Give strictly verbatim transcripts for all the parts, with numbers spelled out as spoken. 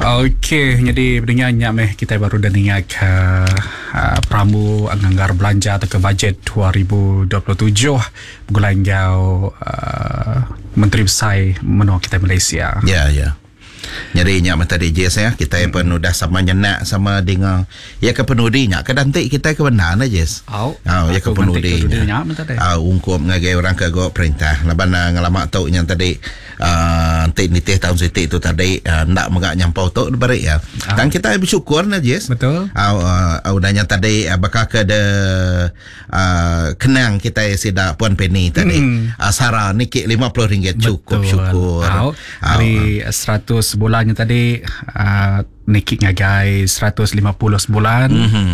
Okey, jadi pendengar nyak meh kita baru dah dengar ke uh, Pramu Anggar Belanja atau ke bajet dua ribu dua puluh tujuh begulai enggau uh, Menteri Besar menua kita Malaysia. Ya, ya. Jadi nyak meh tadi J S ya, kita hmm. pun udah sama nyenak sama dengar. Ya ke penudi nyak ke dantik kita ke benar na J S. Au. Au ya ke penudi nyak meh tadi. Au ungkup ngagai orang ke go perintah. Laban ngelamak tok yang tadi uh, entik nitih tahun sitik tu tadi uh, ndak megak nyampau tok diberi ya. Dan kita bersyukur na J S. Betul. Au uh, udahnya tadi uh, bakal ke de uh, kenang kita sida Puan Penny tadi. Hmm. Uh, Sara nikik lima puluh ringgit cukup syukur. Au. Hari seratus bulannya tadi uh, nikik ngagai seratus lima puluh sebulan. Mm-hmm.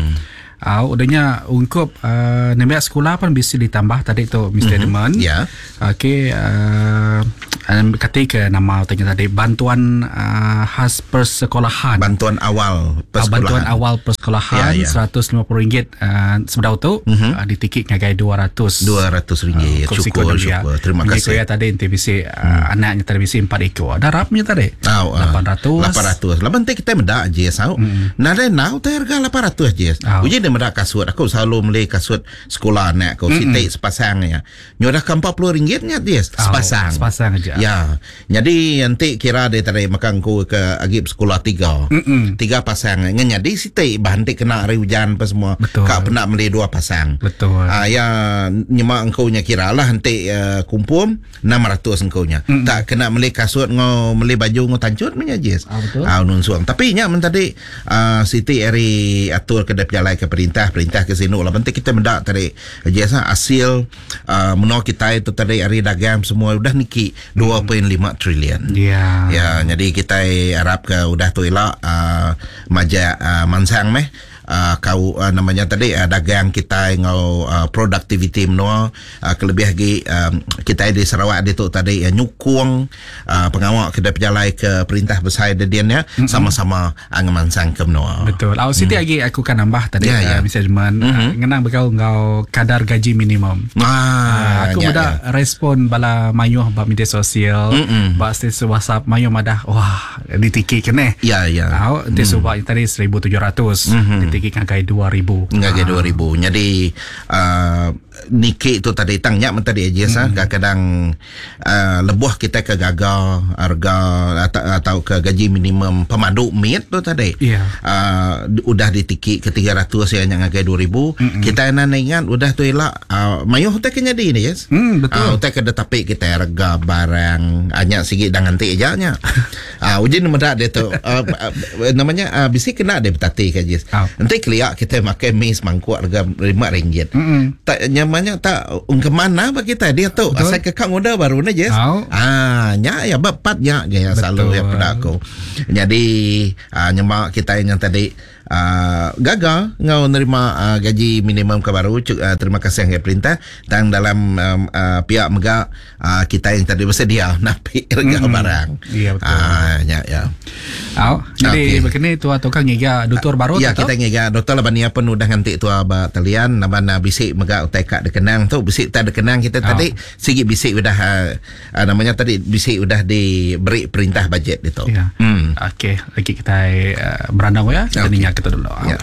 Uh, udahnya ungkup uh, nembiak sekolah pun bisa ditambah tadi tu Mister Mm-hmm. Edmund. Ya. Yeah. Okey, uh, kata ke nama tanya tadi bantuan uh, khas persekolahan. Bantuan awal persekolahan. Uh, bantuan awal persekolahan ya, ya. seratus lima puluh ringgit uh, sebedau tu mm-hmm. uh, ditikik ngagai dua ratus. dua ratus ringgit. Uh, syukur syukur. Terima kasih. Ya tadi enti bisi uh, hmm. anaknya tadi bisi empat ekor. Darapnya tadi. Oh, uh, lapan ratus. lapan ratus. Laban te kita mendak je sau. Hmm. Nadai nau te harga lapan ratus je. Oh. Uji dia mendak kasut. Aku selalu beli kasut sekolah anak aku mm-hmm. sitik sepasang ya. Nyodah ke empat puluh ringgit nya dia sepasang. Oh, sepasang aja. Ya. Jadi nanti kira dia tarik makan ku ke agip sekolah tiga. Mm-mm. Tiga pasang. Ngan jadi sitik bahan tik kena hari hujan apa semua. Betul. Kak pernah beli dua pasang. Betul. Ah ya nyemak engkau nya kira lah nanti uh, kumpul enam ratus engkau nya. Mm-mm. Tak kena beli kasut ngau beli baju ngau tancut punya je. Ah, betul. Ah nunsuang. Tapi nya men tadi uh, Siti ari atur ke berjalai ke perintah perintah ke sini lah penting kita mendak tadi jasa hasil uh, menua kita itu tadi hari dagang semua udah niki dua perpuluhan lima trilion. Ya. Ya, jadi kita harap ke udah tu elak uh, majak uh, mansang meh uh, kau uh, namanya tadi uh, dagang kita ngau uh, productivity menua uh, kelebih lagi um, kita di Sarawak dia tu tadi uh, nyukung uh, pengawal ke berjalai ke perintah besar dia ya mm-hmm. sama-sama uh, ngemansang ke menua. Betul. Au Siti mm. lagi aku kan nambah tadi ya, ya. uh, Mister Edmund mm-hmm. uh, ngenang bekau ngau kadar gaji minimum. Ah, uh, aku ya, muda ya. respon bala mayuh bab media sosial, mm-hmm. bab status WhatsApp mayuh madah wah ditiki kene. Ya ya. Au mm. sebab tadi seribu tujuh ratus mm-hmm. ditiki ngagai dua ribu. Ngagai dua ribu. Jadi uh, niki tu tadi tangnya men tadi aja mm-hmm. kadang-kadang uh, lebuh kita ke gagal harga atau, atau ke gaji minimum pemandu mit tu tadi. Yeah. Uh, udah ditiki ke tiga ratus ya yang ngagai dua ribu. Mm-hmm. Kita nan ingat udah tu elak uh, mayuh utai kena jadi ni yes. Mm, betul. Uh, utai kena tapi kita harga barang hanya sikit dan nganti aja nya. Ah uh, ujian medak dia tu uh, uh, namanya uh, bisi kena dia betati ke jis. Oh. Nanti keliak kita makan mi semangkuk harga lima ringgit. Mm-hmm. Tak nyamannya tak ke mana bagi kita dia tu Betul. asal ke kang udah baru ni jis. Oh. Ah nya ya bapat nya je ya selalu ya pada aku. Jadi uh, nyemak kita yang tadi Uh, gagal ngau nerima uh, gaji minimum ke baru uh, terima kasih dengan perintah dan dalam um, uh, pihak mega uh, kita yang tadi bersedia napi harga mm-hmm. barang. Ya betul. Ah ya ya. Au, jadi okay. begini tua tukang ngiga doktor baru Ya atau? Kita ngiga doktor laban ni pun udah nganti tua ba talian laban uh, bisik mega utai kak dekenang tu bisik tak dekenang kita oh. tadi sigi bisik udah uh, uh, namanya tadi bisik udah diberi perintah bajet itu. Ya. Hmm. Okey, lagi kita uh, berandang ya. Kita Okay. okay. kita dulu. Ya.